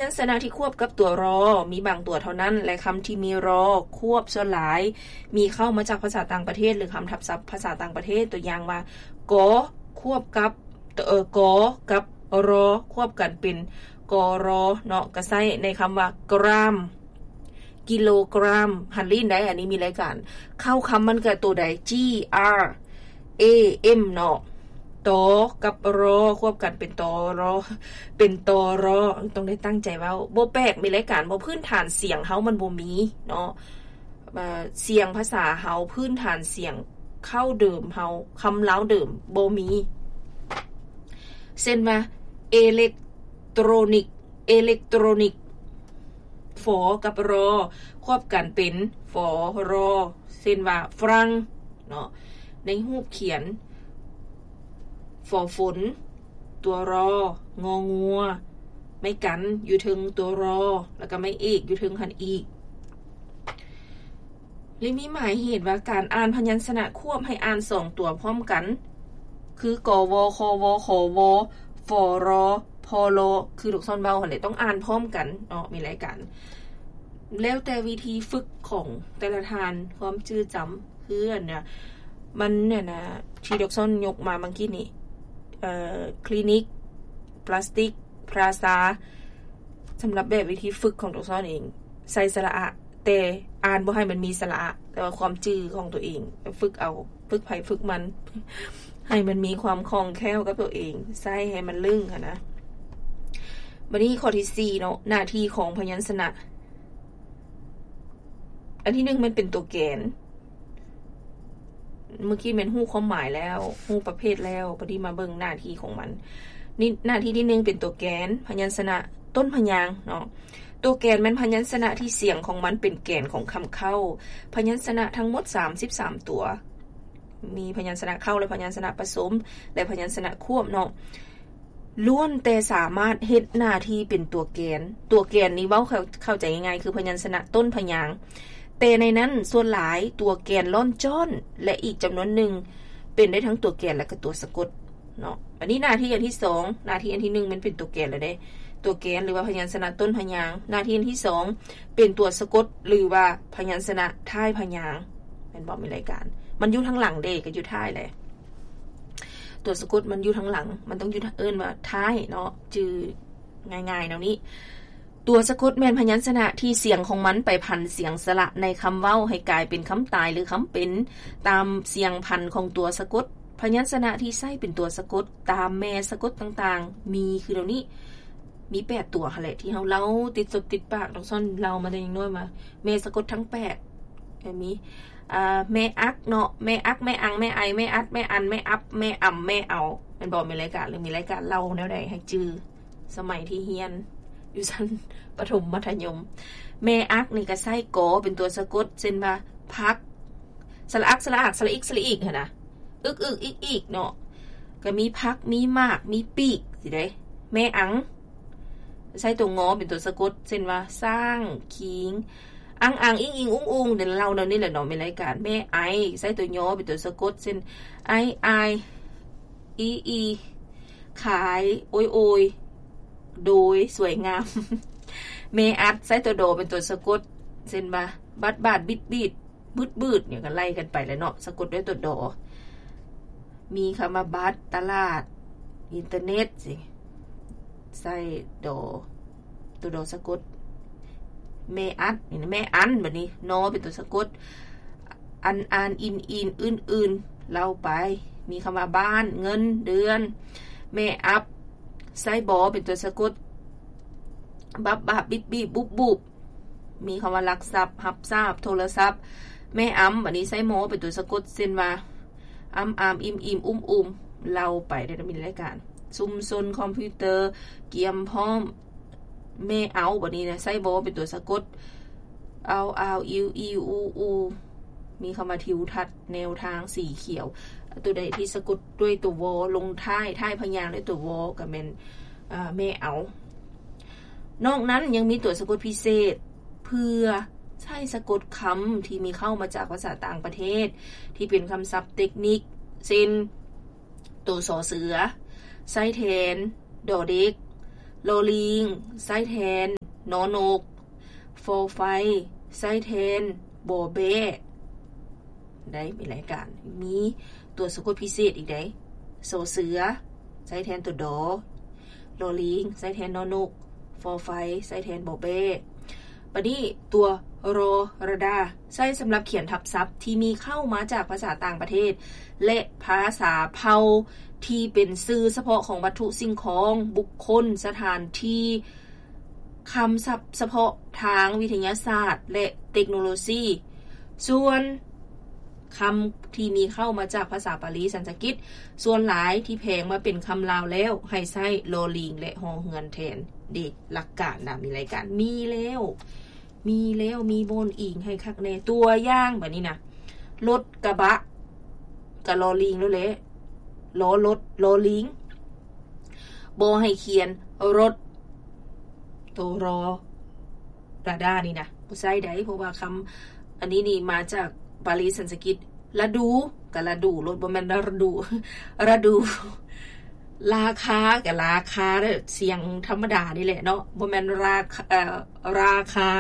ຍັນຊະນະທີ່ຄວບກັບຕົວ ລ ມີບາງຕົວເທົ່ານັ້ນ ແລະ ຄຳທີ່ມີ ລ ຄວບສ່ວນຫຼາຍມີເຂົ້າມາຈາກພາສາຕ່າງປະເທດ ຫຼື ຄຳທັບສັບພາສາຕ່າງປະເທດ, ຕົວຢ່າງວ່າ ກ ຄວບກັບ ເອີ ກ ກັບ ລ ຄວບກັນເປັນ ກ ລ ເນາະ, ກໍໃຊ້ໃນຄຳວ່າ ກຣາມ ກິໂລກຣາມ, ຫັນລີ້ນໄດ໋, ອັນນີ້ມີລາຍການ. ເຄົ້າຄຳມັນກໍໂຕໃດ? ຈີ ອາ ເອ ເອັມ ເນາະ. ຕ ກັບ ຣ ຄວບກັນເປັນ ຕ ຣ ເປັນ ຕ ຣ ຕ້ອງໄດ້ຕັ້ງໃຈເວົ້າ. ບໍ່ແປກ, ມີລາຍການ, ບໍ່, ພື້ນຖານສຽງເຮົາມັນບໍ່ມີເນາະ. ເອີ ສຽງພາສາເຮົາ, ພື້ນຖານສຽງເຄົ້າເດີມເຮົາ, ຄຳລາວເດີມບໍ່ມີ. ເຊັ່ນວ່າ ເອເລັກໂຕຣນິກ, ເອເລັກໂຕຣນິກ. ຝ ກັບ ຣ ຄວບກັນເປັນ ຝ ຣ ເຊັ່ນວ່າ ຝຣັ່ງເນາະ. ໃນຮູບຂຽນ ຝ ຝົນ, ຕົວ ຣ ງ ງົວ, ໄມ້ກັນຢູ່ເທິງຕົວ ຣ ແລ້ວກໍໄມ້ເອກຢູ່ເທິງຫັ້ນອີກ. ແລະ ມີໝາຍເຫດວ່າການອ່ານພະຍັນຊະນະຄວບໃຫ້ອ່ານສອງຕົວພ້ອມກັນ ຄື ກ ວ ຄ ວ ຂ ວ ຟ ຣ ພ ລ ຄືລູກສອນເວົ້າຫັ້ນແຫຼະ, ຕ້ອງອ່ານພ້ອມກັນເນາະ, ມີລາຍການ. ແລ້ວແຕ່ວິທີຝຶກຂອງແຕ່ລະທ່ານ, ຄວາມຈື່ຈຳ ຄືອັນນະ ມັນນັ້ນນະ ທີ່ລູກສອນຍົກມາເມື່ອກີ້ນີ້ ເອີ ຄລີນິກ, ປລາສຕິກ, ພຣາຊາ, ສຳລັບແບບວິທີຝຶກຂອງໂຕສອນເອງ ໃສ່ສະຫຼະອະ ແຕ່ອ່ານບໍ່ໃຫ້ມັນມີສະຫຼະອະ, ແຕ່ວ່າຄວາມຈື່ຂອງໂຕເອງ ຝຶກເອົາ, ຝຶກໃຜຝຶກມັນ ໃຫ້ມັນມີຄວາມຄ່ອງແຄ້ວກັບໂຕເອງ, ໃຊ້ໃຫ້ມັນລຶ້ງຫັ້ນນະ. ບັດນີ້ຂໍ້ທີສີ່ເນາະ, ໜ້າທີ່ຂອງພະຍັນຊະນະ. ອັນທີໜຶ່ງແມ່ນເປັນຕົວແກນ. ເມື່ອກີ້ແມ່ນຮູ້ຄວາມໝາຍແລ້ວ, ຮູ້ປະເພດແລ້ວ, ບັດນີ້ມາເບິ່ງໜ້າທີ່ຂອງມັນ. ນີ້ ໜ້າທີ່ທີໜຶ່ງເປັນຕົວແກນ, ພະຍັນຊະນະຕົ້ນພະຍາງເນາະ. ຕົວແກນແມ່ນພະຍັນຊະນະທີ່ສຽງຂອງມັນເປັນແກນຂອງຄຳເຄົ້າ. ພະຍັນຊະນະທັງໝົດສາມສິບສາມຕົວ, ມີພະຍັນຊະນະເຄົ້າ ແລະ ພະຍັນຊະນະປະສົມ ແລະ ພະຍັນຊະນະຄວບເນາະ. ລ້ວນແຕ່ສາມາດເຮັດໜ້າທີ່ເປັນຕົວແກນ. ຕົວແກນນີ້ເວົ້າເຂົ້າ ເຂົ້າໃຈງ່າຍໆ ຄືພະຍັນຊະນະຕົ້ນພະຍາງ, ແຕ່ໃນນັ້ນສ່ວນຫຼາຍຕົວແກນລ້ອນຈ້ອນ ແລະ ອີກຈຳນວນໜຶ່ງເປັນໄດ້ທັງຕົວແກນ ແລະ ກໍຕົວສະກົດເນາະ. ອັນນີ້ໜ້າທີ່ອັນທີສອງ, ໜ້າທີ່ອັນທີໜຶ່ງແມ່ນເປັນຕົວແກນແລ້ວເດ້. ຕົວແກນ ຫຼືວ່າພະຍັນຊະນະຕົ້ນພະຍາງ, ໜ້າທີ່ອັນທີສອງເປັນຕົວສະກົດ ຫຼືວ່າພະຍັນຊະນະທ້າຍພະຍາງ, ແມ່ນບໍ່? ມີລາຍການ ມັນຢູ່ທາງຫຼັງເດ້, ກໍຢູ່ທ້າຍແຫຼະ. ຕົວສະກົດມັນຢູ່ທາງຫຼັງ, ມັນຕ້ອງຢູ່ ເອີ້ນວ່າທ້າຍເນາະ, ຈື່ງ່າຍໆແນວນີ້. ຕົວສະກົດແມ່ນພະຍັນຊະນະທີ່ສຽງຂອງມັນໄປພັນສຽງສະຫຼະໃນຄຳເວົ້າໃຫ້ກາຍເປັນຄຳຕາຍ ຫຼື ຄຳເປັນ ຕາມສຽງພັນຂອງຕົວສະກົດ. ພະຍັນຊະນະທີ່ໃຊ້ເປັນຕົວສະກົດຕາມແມ່ສະກົດຕ່າງໆ ມີຄືດຽວນີ້, ມີແປດຕົວຫັ້ນແຫຼະ ທີ່ເຮົາເລົ່າຕິດສົບຕິດປາກ, ນ້ອງຊອນເລົ່າມາແຕ່ຍັງນ້ອຍມາ, ແມ່ສະກົດທັງແປດ ກໍມີ ອ່າ ແມ່ອັກເນາະ, ແມ່ອັກ, ແມ່ອັງ, ແມ່ໄອ, ແມ່ອັດ, ແມ່ອັນ, ແມ່ອັບ, ແມ່ອຳ, ແມ່ເອົາ, ແມ່ນບໍ່? ມີລາຍການ ຫຼື ມີລາຍການເລົ່າແນວໃດໃຫ້ຈື່ ສະໄໝທີ່ຮຽນຢູ່ຊັ້ນປະຖົມມັດທະຍົມ. ແມ່ອັກນີ້ກໍໃຊ້ ກ ເປັນຕົວສະກົດ ເຊັ່ນວ່າ ຜັກ, ສະຫຼະອັກ, ສະຫຼະອາກ, ສະຫຼະອິກ, ສະຫຼະອີກຫັ້ນນະ, ອຶກ, ອຶກ, ອີກ, ອີກເນາະ. ກໍມີຜັກ, ມີໝາກ, ມີປີກ ຊີ້ເດ້. ແມ່ອັງ ໃຊ້ຕົວ ງ ເປັນຕົວສະກົດ ເຊັ່ນວ່າ ຊ້າງ, ຄີງ, ອັງ, ອັງ, ອິງ, ອິງ, ອຸງ, ອຸງ ເດ ເລົ່າແນວນີ້ແຫຼະເນາະ, ແມ່ນລາຍການ. ແມ່ໄອ ໃຊ້ຕົວ ຍ ເປັນຕົວສະກົດ ເຊັ່ນ ໄອ, ອາຍ, ອີ, ອີ, ຂາຍ, ໂອຍ, ໂອຍ, ໂດຍ, ສວຍງາມ. ແມ່ອັດ ໃຊ້ຕົວ ດ ເປັນຕົວສະກົດ ເຊັ່ນວ່າ ບັດ, ບາດ, ບິດ, ບີດ, ບືດ, ບືດ ຫຍັງກໍໄລ່ກັນໄປແຫຼະເນາະ, ສະກົດດ້ວຍຕົວ ດ. ມີຄຳວ່າ ບັດ, ຕະຫຼາດ, ອິນເຕີເນັດ ຊີ້ ໃຊ້ ດ ຕົວ ດ ສະກົດ. ແມ່ອັດ ນີ້ນະ, ແມ່ອັນ ບັດນີ້ ນ ເປັນຕົວສະກົດ ອັນ, ອານ, ອິນ, ອີນ, ອື່ນ, ອື່ນ ເລົ່າໄປ. ມີຄຳວ່າ ບ້ານ, ເງິນ, ເດືອນ. ແມ່ອັບ ໃຊ້ ບ ເປັນຕົວສະກົດ ບັບ, ບາບ, ບິບ, ບີບ, ບຸບ, ບຸບ. ມີຄຳວ່າ ລັກຊັບ, ຮັບຊາບ, ໂທລະສັບ. ແມ່ອຳ ບັດນີ້ໃຊ້ ມ ເປັນຕົວສະກົດ ເຊັ່ນວ່າ ອຳ, ອາມ, ອິມ, ອີມ, ອຸມ, ອຸມ ເລົ່າໄປໄດ້ ມີລາຍການ. ຊຸມຊົນ, ຄອມພິວເຕີ, ກຽມພ້ອມ. ແມ່ເອົາ ບັດນີ້ນະ ໃຊ້ ວ ເປັນຕົວສະກົດ ເອົາ, ອາວ, ອິວ, ອີ, ອູ, ອູ. ມີຄຳວ່າ ທິວທັດ, ແນວທາງ, ສີຂຽວ. ຕົວໃດທີ່ສະກົດດ້ວຍຕົວ ວ ລົງທ້າຍ, ທ້າຍພະຍາງດ້ວຍຕົວ ວ ກໍແມ່ນ ເອີ ແມ່ເອົາ. ນອກນັ້ນຍັງມີຕົວສະກົດພິເສດ ເພື່ອໃຊ້ສະກົດຄຳທີ່ມີເຂົ້າມາຈາກພາສາຕ່າງປະເທດ ທີ່ເປັນຄຳສັບເຕັກນິກ ເຊັ່ນ ໂຕ ຊ ເສືອ ໃຊ້ແທນ ດ ເດັກ, ລໍລີງ ໃຊ້ແທນ ນໍນົກ, ຟໍໄຟ ໃຊ້ແທນ ມໍແບ້ ໄດ້ ມີລາຍການ ມີຕົວສະກົດພິເສດອີກໄດ໋ ສໍເສືອ ໃຊ້ແທນຕົວດໍ, ລໍລີງ ໃຊ້ແທນນໍນົກ, ຟໍໄຟ ໃຊ້ແທນມໍແບ້. ບາດນີ້ຕົວລໍຣະດາ ໃຊ້ສຳລັບຂຽນທັບສັບທີ່ມີເຄົ້າມາຈາກພາສາຕ່າງປະເທດ ແລະ ພາສາເຜົ່າທີ່ເປັນຊື່ສະເພາະຂອງວັດຖຸສິ່ງຂອງ, ບຸກຄົນ, ສະຖານທີ່, ຄຳສັບສະເພາະທາງວິທະຍາສາດ ແລະ ເຕັກໂນໂລຊີ. ສ່ວນຄຳທີ່ມີເຄົ້າມາຈາກພາສາປາລີສັນສະກິດ ສ່ວນຫຼາຍທີ່ແພງມາເປັນຄຳລາວແລ້ວ ໃຫ້ໃຊ້ລໍລີງ ແລະ ຫໍເຮືອນແທນ. ເດ ຫຼັກການນະ ມີລາຍການ ມີແລ້ວ ມີແລ້ວ ມີບ່ອນອີງໃຫ້ຄັກແນ່. ຕົວຢ່າງບາດນີ້ນະ ລົດກະບະ ກະລໍລີງໂລດແຫຼະ ລໍລົດ ລໍລີງ. ບໍ່ໃຫ້ຂຽນລົດ ໂຕ ລໍ ຣະດານີ້ນະ ບໍ່ໃຊ້ໄດ໋ ເພາະວ່າຄຳອັນນີ້ນີ້ມາຈາກປາລີສັນສະກິດ. ລະດູ ກະລະດູໂລດ ບໍ່ແມ່ນລະດູ ລະດູ. ລາຄາ ກະລາຄາເດີ ສຽງທຳມະດານີ້ແຫຼະເນາະ ບໍ່ແມ່ນລາຄາ ເອີ ລາຄາ.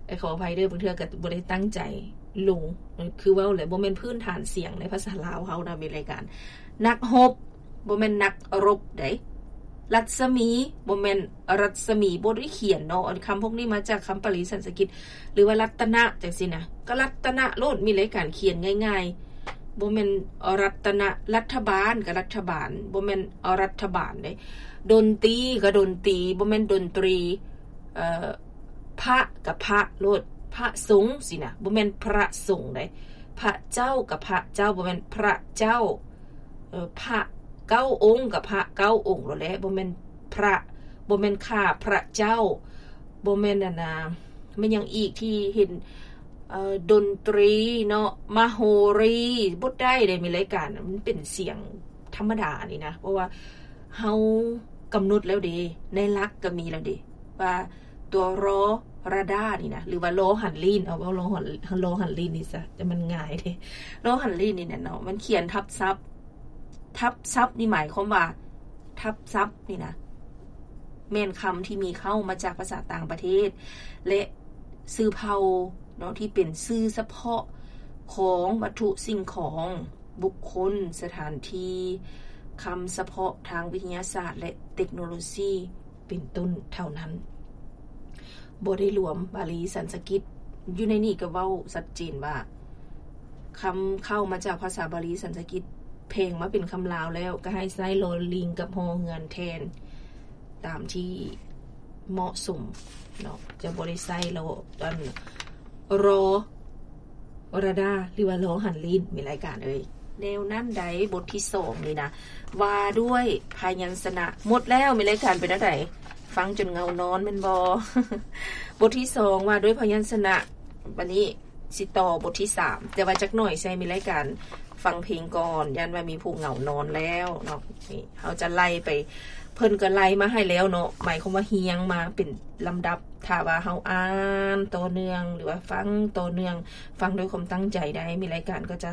ເອີ ຂໍອະໄພເດີ ບາງເທື່ອກະບໍ່ໄດ້ຕັ້ງໃຈລົງ ຄືເວົ້າແຫຼະ ບໍ່ແມ່ນພື້ນຖານສຽງໃນພາສາລາວເຮົານະ ມີລາຍການ. ນັກຮົບ ບໍ່ແມ່ນນັກລົບໃດ໋. ລັດສະໝີ ບໍ່ແມ່ນລັດສະໝີ ບໍ່ໄດ້ຂຽນເນາະ. ອັນຄຳພວກນີ້ມາຈາກຄຳປາລີສັນສະກິດ ຫຼືວ່າລັດຕະນະ ຈັ່ງຊີ້ນະ ກະລັດຕະນະໂລດ ມີລາຍການຂຽນງ່າຍໆ ບໍ່ແມ່ນລັດຕະນະ. ລັດຖະບານ ກະລັດຖະບານ ບໍ່ແມ່ນລັດຖະບານເດ້. ດົນຕີ ກະດົນຕີ ບໍ່ແມ່ນດົນຕີ. ເອີ ພະ ກະພະໂລດ ພະສົງຊີ້ນະ ບໍ່ແມ່ນພະສົງໃດ໋. ພະເຈົ້າ ກະພະເຈົ້າ ບໍ່ແມ່ນພະເຈົ້າ. ເອີ ພະເກົ້າອົງ ກະພະເກົ້າອົງໂລດແຫຼະ ບໍ່ແມ່ນພະ ບໍ່ແມ່ນຂ້າພະເຈົ້າ ບໍ່ແມ່ນອັນນາ ແມ່ນຫຍັງອີກທີ່ເຫັນ ເອີ ດົນຕີເນາະ ມະໂຫຣີ ບໍ່ໄດ້ເດ້ ມີລາຍການ ມັນເປັນສຽງທຳມະດານີ້ນະ ເພາະວ່າເຮົາກຳນົດແລ້ວເດ້ ໃນຫຼັກກະມີແລ້ວເດ້ ວ່າຕົວລໍ ຣະດານີ້ນະ ຫຼືວ່າລໍຫັນລີນ ເອົາ ເວົ້າລໍຫັນ ລໍຫັນລີນນີ້ຊະ ແຕ່ມັນງ່າຍເດ້ ລໍຫັນລີນນີ້ນະເນາະ ມັນຂຽນທັບສັບ. ທັບສັບນີ້ໝາຍຄວາມວ່າ ທັບສັບນີ້ນະ ແມ່ນຄຳທີ່ມີເຄົ້າມາຈາກພາສາຕ່າງປະເທດ ແລະ ຊື່ເຜົ່າເນາະ ທີ່ເປັນຊື່ສະເພາະຂອງວັດຖຸສິ່ງຂອງ, ບຸກຄົນ, ສະຖານທີ່, ຄຳສະເພາະທາງວິທະຍາສາດ ແລະ ເຕັກໂນໂລຊີ ເປັນຕົ້ນເທົ່ານັ້ນ, ບໍ່ໄດ້ລວມບາລີສັນສະກິດ. ຢູ່ໃນນີ້ກໍເວົ້າຊັດເຈນວ່າ ຄຳເຄົ້າມາຈາກພາສາບາລີສັນສະກິດ ແພງມາເປັນຄຳລາວແລ້ວ ກໍໃຫ້ໃຊ້ລໍລິງກັບຫໍເຮືອນແທນ ຕາມທີ່ເໝາະສົມເນາະ, ຈະບໍ່ໄດ້ໃຊ້ລໍ ອັນ ລໍ ວະລະດາ ຫຼືວ່າລໍຫັນລີນ ແມ່ນລາຍການເອີຍ. ແນວນັ້ນໃດ ບົດທີສອງນີ້ນະ ວ່າດ້ວຍພະຍັນຊະນະ. ໝົດແລ້ວ ແມ່ນລາຍການເປັນແນວໃດ? ຟັງຈົນເຫງົານອນແມ່ນບໍ່? ບົດທີສອງ ວ່າດ້ວຍພະຍັນຊະນະ. ບັດນີ້ຊິຕໍ່ບົດທີສາມ ແຕ່ວ່າຈັກໜ່ອຍໃສ່ ແມ່ນລາຍການຟັງເພງກ່ອນ ຢ້ານວ່າມີຜູ້ເຫງົານອນແລ້ວເນາະ. ນີ້ເຮົາຈະໄລ່ໄປ ເພິ່ນກໍໄລ່ມາໃຫ້ແລ້ວເນາະ, ໝາຍຄວາມວ່າຮຽງມາເປັນລຳດັບ. ຖ້າວ່າເຮົາອ່ານຕໍ່ເນື່ອງ ຫຼືວ່າຟັງຕໍ່ເນື່ອງ, ຟັງດ້ວຍຄວາມຕັ້ງໃຈໄດ້, ມີລາຍການກໍຈະ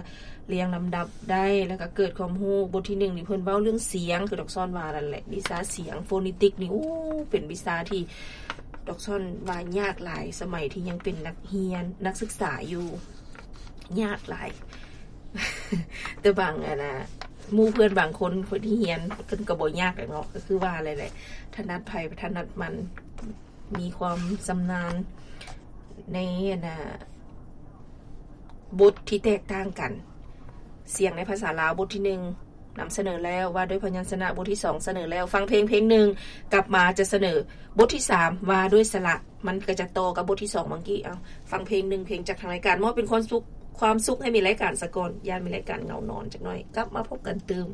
ລຽງລຳດັບໄດ້ ແລ້ວກໍເກີດຄວາມຮູ້. ບົດທີໜຶ່ງນີ້ເພິ່ນເວົ້າເລື່ອງສຽງ ຄືດອກຊອນວ່ານັ້ນແຫຼະ, ວິຊາສຽງ ໂຟນີຕິກນີ້ ໂອ້ ເປັນວິຊາທີ່ດອກຊອນວ່າຍາກຫຼາຍ ສະໄໝທີ່ຍັງເປັນນັກຮຽນ ນັກສຶກສາຢູ່, ຍາກຫຼາຍ. ແຕ່ບາງອັນນະ ໝູ່ເພື່ອນບາງຄົນ ເພິ່ນທີ່ຮຽນ ເພິ່ນກໍບໍ່ຍາກແຫຼະເນາະ, ກໍຄືວ່າແຫຼະ ຖະໜັດໃຜຖະໜັດມັນ, ມີຄວາມຊຳນານໃນອັນນະ ບົດທີ່ແຕກຕ່າງກັນ. ສຽງໃນພາສາລາວ ບົດທີໜຶ່ງ ນຳສະເໜີແລ້ວ, ວ່າດ້ວຍພະຍັນຊະນະ ບົດທີສອງ ສະເໜີແລ້ວ. ຟັງເພງເພງໜຶ່ງ ກັບມາຈະສະເໜີບົດທີສາມ ວ່າດ້ວຍສະຫຼະ. ມັນກໍຈະຕໍ່ກັບບົດທີສອງເມື່ອກີ້. ເອົາ ຟັງເພງໜຶ່ງເພງຈາກທາງລາຍການ ມອບເປັນຄວາມສຸກ ຄວາມສຸກໃຫ້ແມ່ນລາຍການສາກ່ອນ, ຢ້ານແມ່ນລາຍການເຫງົານອນຈັກໜ້ອຍ. ກັບມາພົບກັນຕື່ມ.